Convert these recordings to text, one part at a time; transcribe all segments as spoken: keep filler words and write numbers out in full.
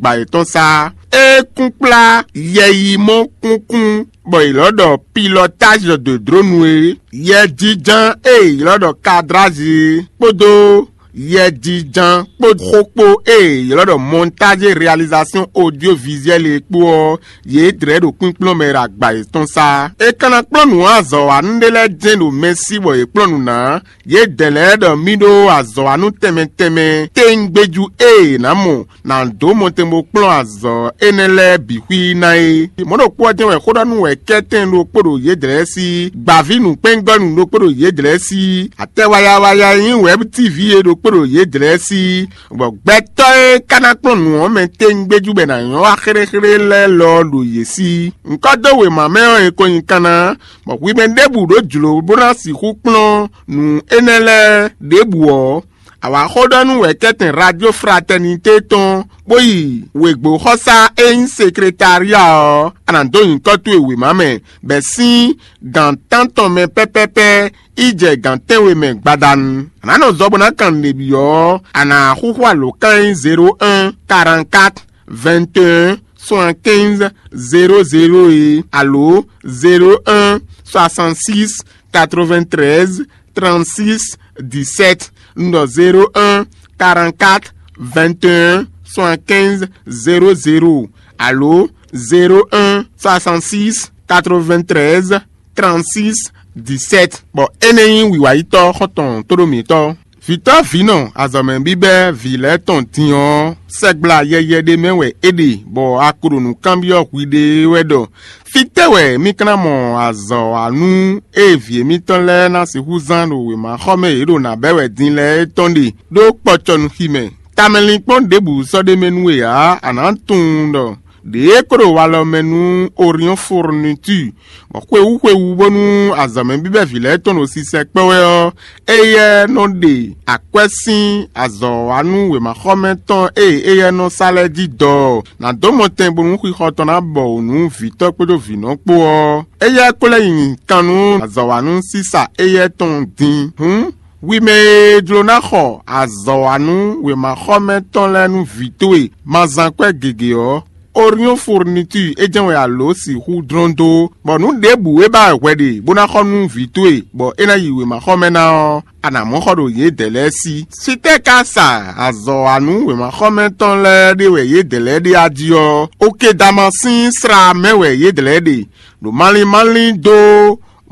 agba yětɔn sá. É kún kplá yɛyimɔ kúnkún bɔ è lɔ́ ɖɔ pilotage de drone é, yɛjínján e è lɔ́ ɖɔ cadrage é, kpódó yɛjínján kpó xó kpó e è lɔ́ ɖɔ montage et réalisation audiovisuelle é kpó ɔ́, yě dlɛ̌ ɖo kpínkplɔ́n mɛ ɖo agba yětɔn sá. É ka ná kplɔ́n nǔ azɔ̌wanú ɖé lɛ́ɛ jɛ́n ɖo mɛ sí bɔ yě kplɔ́n nǔ ná. Yědɛɛ lɛ́ɛ ɖɔ mì ɖó azɔ̌wanú tɛnmɛ tɛnmɛ téŋgbéjú e è nǎ mɔ ná dó mɔtɛn bó kplɔ́n azɔ̌ énɛ́ lɛ́ɛ bǐ xwí ná é. Mɔ̌ ɖokpó ɔ́ jɛ́n wɛ xó ɖɔ nú wɛ kɛ́tɛn ɖokpó ɖo yědɛɛ sí, gbǎví nǔkpɛ́ngɔ́nú ɖokpó ɖo yědɛɛ sí, atɛ wayawaya e nyí wɛ̌b tívi é ɖokpó ɖo yědɛɛ sí, bɔ gbɛtɔ́ e ka ná kplɔ́n nǔ ɔ́ mɛ téŋgbéjú bɔ è nǎ nyɔ́ wá xéɖéxéɖé lɛ́ɛ lɔ ɔ́ ɖo yě sí. Ŋkɔ́ dó wěma mɛ ɔ́, è ko nyi kanna, bɔ hwi mɛ ɖěbǔ ɖó jlǒ bó ná sixú kplɔ́n nǔ énɛ́ lɛ́ɛ ɖěbǔ ɔ́, a wǎ xó ɖɔ nú wɛ̌kɛ́tɛn Radio Fraternité tɔn, bó yi wěgbóxɔsá e nyí sekretária ɔ́, a nǎ dó nyǐkɔ towe wěma mɛ, bɔ è sín gǎn tántɔn mɛ pɛ́pɛ́pɛ́ yi jɛ gǎn tɛ́nwe mɛ gbadanu. A nǎ nɔ zɔ bó ná kan nǔɖé byɔ́ ɔ́, a nǎ xúxú alǒkan e nyí zéro un, quarante-quatre, vingt et un, soixante-quinze, zéro zéro é, alo zéro un, soixante-six, quatre-vingt-treize, trente-six, dix-sept, un ɖɔ zéro un, quarante-quatre, vingt et un, soixante-quinze, zéro zéro, alo zéro un, soixante-six, quatre-vingt-treize, trente-six, dix-sept. Bɔ énɛ́ nyí wǐwáyítɔ́ xɔ́ntɔn tóɖó mǐtɔn. Vǐtɔ́ vǐnɔ azɔ̌mɛ bíbɛ́ vǐ lɛ́ɛ tɔn din ɔ́, sɛgbla yɛyɛ ɖé mɛ wɛ é ɖe, bɔ a ko ɖo nǔ kanbyɔ́ hwiɖée wɛ ɖɔ: fítɛ́ wɛ mì ka ná mɔ azɔ̌wanú e vǐ émítɔn lɛ́ɛ ná sixú zán ɖo wěmaxɔmɛ e yě ɖo nǎ bɛ́ wɛ din lɛ́ɛ é tɔn ɖe ɖó kpɔcɔnuxi mɛ? Tamɛlinkpɔ́n ɖěbǔ sɔ́ ɖ'é mɛ nú we ǎ; a nǎ tunwun ɖɔ ɖěe kó ɖo walɔ mɛ nú Orion Fourniture, bɔ xwewú xwewú bónú azɔ̌mɛ bíbɛ́ vǐ lɛ́ɛ tɔn ɖo sisɛ kpɛ́ wɛ ɔ́, éyɛ́ nɔ ɖe akwɛ́ sín azɔ̌wanú wěmaxɔmɛ tɔn e éyɛ́ nɔ sa lɛ́ɛ jí dɔ ɔ́, nǎ dó mɔtɛn bónú xixɔ tɔn ná bɔ wǔ nú vǐtɔ́ kpódó vǐnɔ kpó ɔ́. Éyɛ́ ko lɛ́ nyi kan nú azɔ̌wanú sísa éyɛ́ tɔn din. Hǔn, hwi mɛ e jló ná xɔ azɔ̌wanú wěmaxɔmɛ tɔn lɛ́ɛ nú vǐ towe, ma zán kwɛ́ gěgé ɔ́, Orion Fourniture é jɛ́n wɛ a lǒ sixú dlɔ́n dó, bɔ nǔ ɖěbǔ e ba wɛ hwɛ ɖe bó ná xɔ nú vǐ towe, bɔ é ná yi wěmaxɔmɛ ná ɔ́, a nǎ mɔ xɔ ɖo yědɛɛ lɛ́ɛ sí. Sitɛ́ ka sa azɔ̌wanú wěmaxɔmɛ tɔn lɛ́ɛ ɖé wɛ yědɛɛ lɛ́ɛ ɖe a jí ɔ́, Okedama sín sla mɛ wɛ yědɛɛ lɛ́ɛ ɖe, ɖo malín malín dó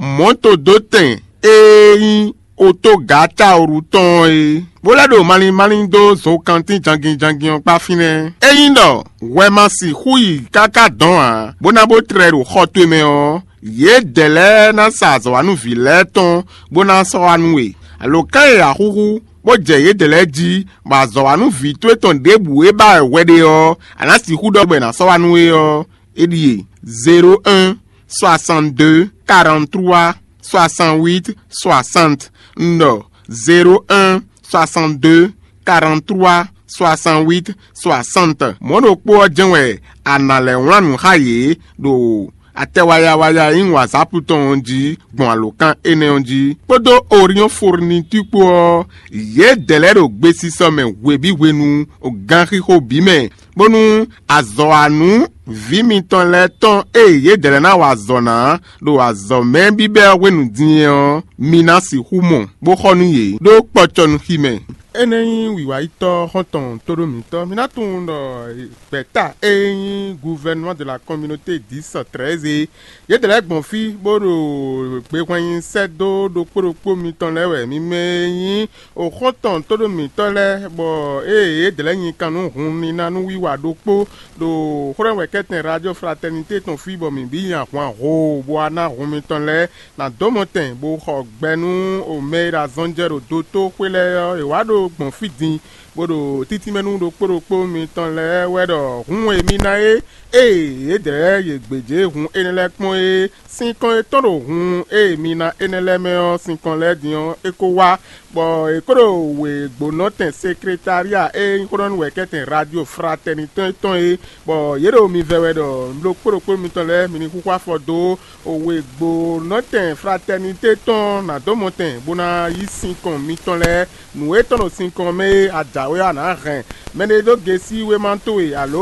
mɔ̌todótɛn e nyí otógǎcaoru tɔn ɔ́ é, bó lɛ́ ɖo malín malín dó zokantín jangin jangin ɔ́ kpá fínɛ́. Ényí ɖɔ hwɛ ma sixú yi káká dɔn ǎ, bó ná bó tlɛ ɖo xɔ towe mɛ ɔ́, yědɛɛ lɛ́ɛ ná sa azɔ̌wanúví lɛ́ɛ tɔn bó ná sɔ́ wá nú we. Alǒkan e a xúxú, bó jɛ yědɛɛ lɛ́ɛ jí, bɔ azɔ̌wanúví towe tɔn ɖěbǔ e ba wɛ hwɛ ɖe ɔ́, a nǎ sixú ɖɔ bɔ è nǎ sɔ́ wá nú we ɔ́, é ɖíe: zéro un, soixante-deux, quarante-trois, soixante-huit, soixante. Un ɖɔ zéro un, soixante-deux, quarante-trois, soixante-huit, soixante. Mɔ̌ ɖokpó ɔ́ jɛ́n wɛ a nǎ lɛ́ wlán nǔ xá yě ɖo atɛ wayawaya e nyí WhatsApp tɔn ɔ́ jí gbɔn alǒkan énɛ́ ɔ́ jí. Kpódó Orion Fourniture kpó ɔ́, yědɛɛ lɛ́ɛ ɖo gbesisɔ mɛ hwebǐ hwenu, ganxixo bǐ mɛ, bónú azɔ̌wanú vǐ mitɔn lɛ́ɛ tɔn e yědɛɛ lɛ́ɛ ná wa azɔ̌ ná ɖo azɔ̌mɛ bíbɛ́ ɔ́ hwenu din ɔ́, mi ná sixú mɔ, bó xɔ nú yě ɖó kpɔcɔnuxi mɛ. Énɛ́ nyí wǐwáyítɔ́ xɔ́ntɔn tóɖó mǐtɔn. Mi ná tunwun ɖɔ gbɛ̌ta e nyí Gouvernement de la Communauté dix treize é, yědɛɛ lɛ́ɛ gbɔn fí bó ɖo gbehwɛnyi sɛ́ dó ɖokpó ɖokpó mitɔn lɛ́ɛ wɛ. Mi mɛ e nyí oxɔ́ntɔn tóɖó mǐtɔn lɛ́ɛ, bɔ ée yědɛɛ lɛ́ɛ nyi kan nú hun níná nú wiwa ɖokpó ɖo xwlɛ́nwɛkɛ́tɛn Radio Fraternité tɔn fí, bɔ mǐ bǐ nya hwan hoo bó wá ná hun mitɔn lɛ́ɛ ná dó mɔtɛn, bó xɔ gbɛ nú mɛ e ɖo azɔn jɛ ɖo dotóxwé lɛ́ɛ ɔ́, è wǎ ɖo gbɔn fí din, bó ɖo títínmɛ nú ɖokpó ɖokpó mitɔn lɛ́ɛ wɛ ɖɔ hun e mi ná é, ée yědɛɛ yě gbějé hun énɛ́ lɛ́ɛ kpɔ́n é, sinkɔn e tɔ́n ɖo hun e mi ná énɛ́ lɛ́ɛ mɛ ɔ́, sinkɔn lɛ́ɛ din ɔ́, é ko wá, bɔ è ko ɖo wěgbónɔtɛn sekretália e nyí xóɖɔ́núwɛkɛ́tɛn Radio Fraternité tɔn é, bɔ yě ɖo mi vɛ wɛ ɖɔ ɖokpó ɖokpó mitɔn lɛ́ɛ mi ní xúxú afɔ dó wěgbónɔtɛn Fraternité tɔn ná dó mɔtɛn bó ná yí sinkɔn mitɔn lɛ́ɛ. Nǔ e tɔ́n ɖo sinkɔn mɛ é a jǎwe ɔ́, a nǎ hɛn mɛɖé dó gesi wéma towe alo